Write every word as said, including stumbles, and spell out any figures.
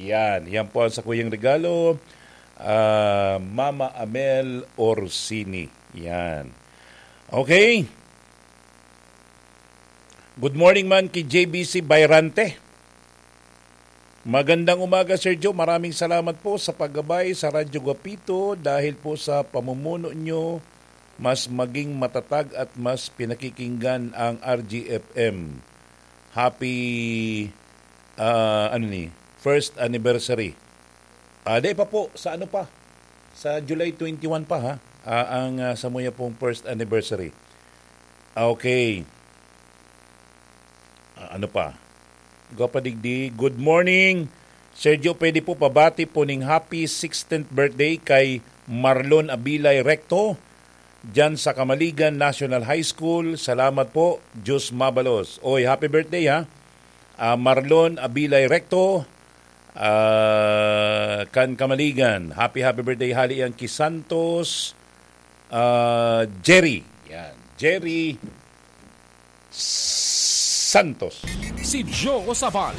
Yan, yan po ang sakuyang regalo, ah, Mama Amel Orsini. Yan. Okay. Good morning man ki J B C Bayrante. Magandang umaga, Sir Joe. Maraming salamat po sa paggabay sa Radyo Guapito. Dahil po sa pamumuno nyo, mas maging matatag at mas pinakikinggan ang R G F M. Happy, ah, ano ni, first anniversary. Ah, di pa po, sa ano pa? Sa July twenty-one pa, ha? Ah, ang, ah, samuya pong first anniversary. Ah, okay. Ah, ano pa? Gwa pa digdi. Good morning, Sergio. Pwede po pabati po ning happy sixteenth birthday kay Marlon Abilay Recto, dyan sa Kamaligan National High School. Salamat po. Diyos mabalos. Oy, happy birthday, ha? Ah, Marlon Abilay Recto, ah, kan Kamaligan. Happy, happy birthday, hali yan ki Santos, ah, Jerry. Yan. Jerry Santos. Si Joe Sabal.